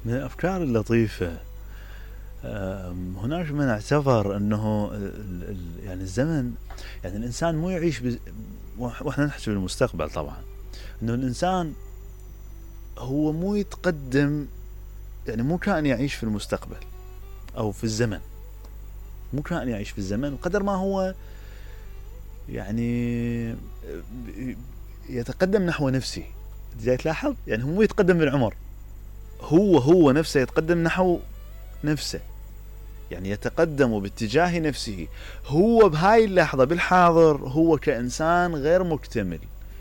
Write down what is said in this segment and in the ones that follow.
من الأفكار اللطيفة هناك من اعتبر أنه يعني الزمن، يعني الإنسان مو يعيش وإحنا نحكي بالمستقبل طبعا، أنه الإنسان هو مو يتقدم، يعني مو كائن يعيش في المستقبل أو في الزمن، مو كائن يعيش في الزمن قدر ما هو يعني يتقدم نحو نفسه. زي تلاحظ يعني هو يتقدم بالعمر، هو نفسه يتقدم نحو نفسه، يعني يتقدم باتجاه نفسه. هو بهاي اللحظة بالحاضر هو كإنسان غير مكتمل.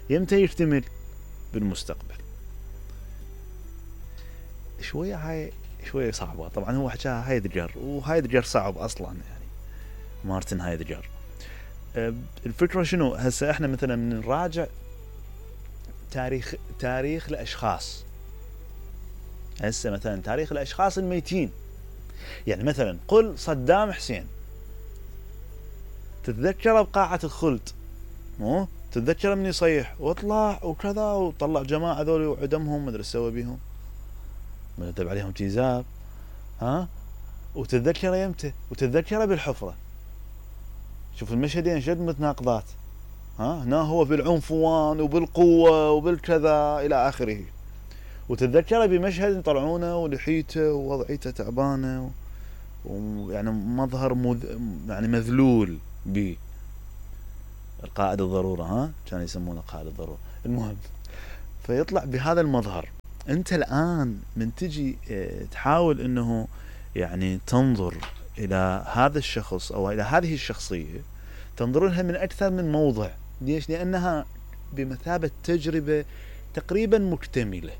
يمتى يكتمل؟ بالمستقبل. هاي شوية صعبة طبعا. هو حكاها هايدجر، وهايدجر صعب أصلا، يعني مارتن هايدجر. الفكرة شنو؟ هسه احنا مثلا نراجع تاريخ الأشخاص. هسه مثلا تاريخ الأشخاص الميتين، يعني مثلا قل صدام حسين، تتذكر بقاعة الخلد، مو تتذكر من يصيح وطلع وكذا وطلع جماعة ذولي وعدمهم، مدري سوى بيهم، مرتب عليهم تيزاب، ها؟ وتتذكر يمتى؟ وتتذكر بالحفرة. شوف المشهدين شد متناقضات، ها؟ هنا هو بالعنفوان وبالقوة وبالكذا إلى آخره، وتتذكر بمشهد يطلعونه ولحيته ووضعيته تعبانة ويعني مظهر يعني مذلول به. القائد الضرورة، ها؟ كانوا يسمونه قائد الضرورة. المهم، فيطلع بهذا المظهر. انت الآن من تجي تحاول انه يعني تنظر الى هذا الشخص او الى هذه الشخصية، تنظر لها من اكثر من موضع. ليش؟ لانها بمثابة تجربة تقريبا مكتملة.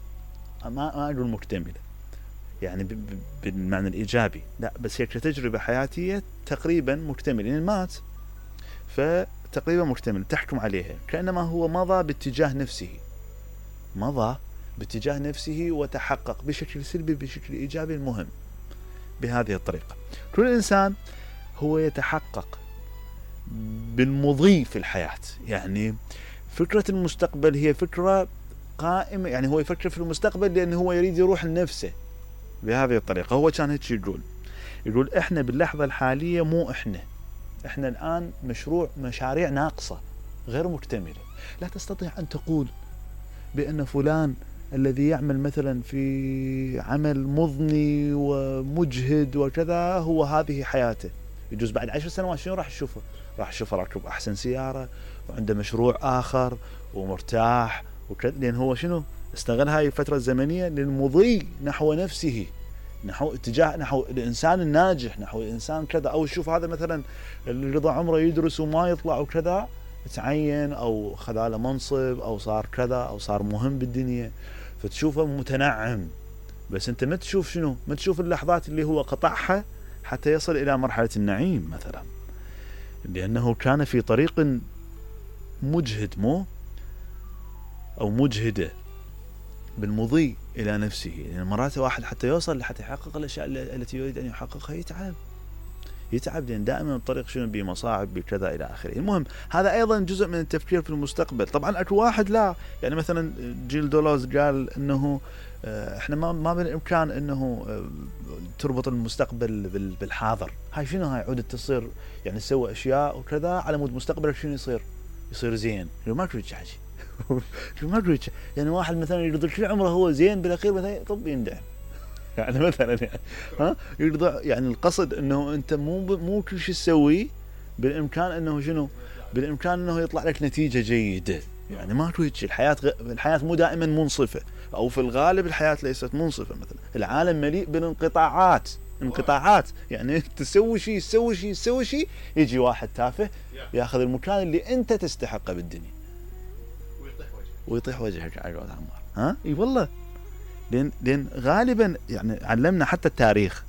ما اقول مكتملة يعني بالمعنى الايجابي، لا، بس هي كتجربة حياتية تقريبا مكتملة. يعني مات فتقريبا مكتمل، تحكم عليها كأنما هو مضى باتجاه نفسه وتحقق بشكل سلبي بشكل ايجابي. المهم بهذه الطريقة كل انسان هو يتحقق بالمضي في الحياة. يعني فكرة المستقبل هي فكرة قائمة، يعني هو يفكر في المستقبل لأنه هو يريد يروح لنفسه بهذه الطريقة. هو كان هيك يقول احنا باللحظة الحالية مو احنا الآن مشاريع ناقصة غير مكتملة. لا تستطيع أن تقول بأن فلان الذي يعمل مثلا في عمل مضني ومجهد وكذا هو هذه حياته. يجوز بعد 10 سنوات شنو راح تشوفه؟ راح تشوفه راكب أحسن سيارة وعنده مشروع آخر ومرتاح وكذا، لأن هو شنو؟ استغل هاي الفترة الزمنية للمضي نحو نفسه، نحو اتجاه نحو الإنسان الناجح، نحو الإنسان كذا. أو شوف هذا مثلا اللي قضى عمره يدرس وما يطلع وكذا، تعين أو خذ منصب أو صار كذا أو صار مهم بالدنيا، فتشوفه متنعم. بس أنت ما تشوف شنو؟ ما تشوف اللحظات اللي هو قطعها حتى يصل إلى مرحلة النعيم مثلا، لأنه كان في طريق مجهد أو مجهدة بالمضي إلى نفسه. يعني مرات واحد حتى يوصل حتى يحقق الأشياء التي يريد أن يحققها يتعب لأن دائما الطريق شنو بمصاعب بكذا إلى آخره. المهم هذا أيضا جزء من التفكير في المستقبل. طبعا أكو واحد لا، يعني مثلا جيل دولوز قال أنه احنا ما بالإمكان أنه تربط المستقبل بالحاضر. هاي شنو؟ هاي عودة تصير يعني تسوي أشياء وكذا على مود مستقبلك شنو يصير زين. ما كنت حاجة ما كنت يعني واحد مثلا يقضي كل عمره هو زين، بالأخير مثلا طب يندعم يعني مثلا ها يرضى. يعني القصد انه انت مو كل شيء تسويه بالامكان انه شنو؟ بالامكان انه يطلع لك نتيجه جيده. يعني ما هيك الحياه مو دائما منصفه، او في الغالب الحياه ليست منصفه. مثلا العالم مليء بالانقطاعات، يعني تسوي شيء يجي واحد تافه ياخذ المكان اللي انت تستحقه بالدنيا ويطيح وجهك على قولة عمار. ها اي والله، لأن غالبا يعني علمنا حتى التاريخ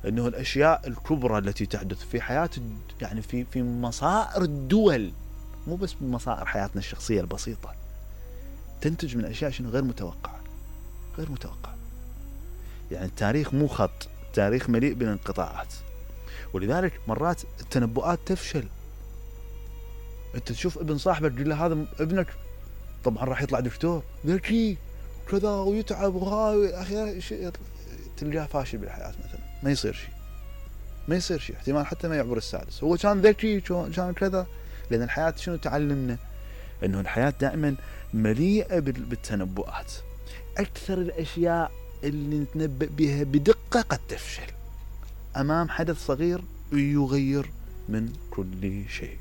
أنه الأشياء الكبرى التي تحدث في حياة يعني في مصائر الدول، مو بس بمصائر حياتنا الشخصية البسيطة، تنتج من أشياء شنو؟ غير متوقعة. يعني التاريخ مو خط، التاريخ مليء بالانقطاعات، ولذلك مرات التنبؤات تفشل. أنت تشوف ابن صاحبك تقول له هذا ابنك طبعا راح يطلع دكتور ذكي كذا ويتعب وهاي اخي تلقاه فاشل بالحياة مثلا، ما يصير شيء، احتمال حتى ما يعبر السادس. هو كان ذكي، كان كذا. لأن الحياة شنو تعلمنا؟ أنه الحياة دائما مليئة بالتنبؤات. أكثر الأشياء اللي نتنبأ بها بدقة قد تفشل أمام حدث صغير يغير من كل شيء.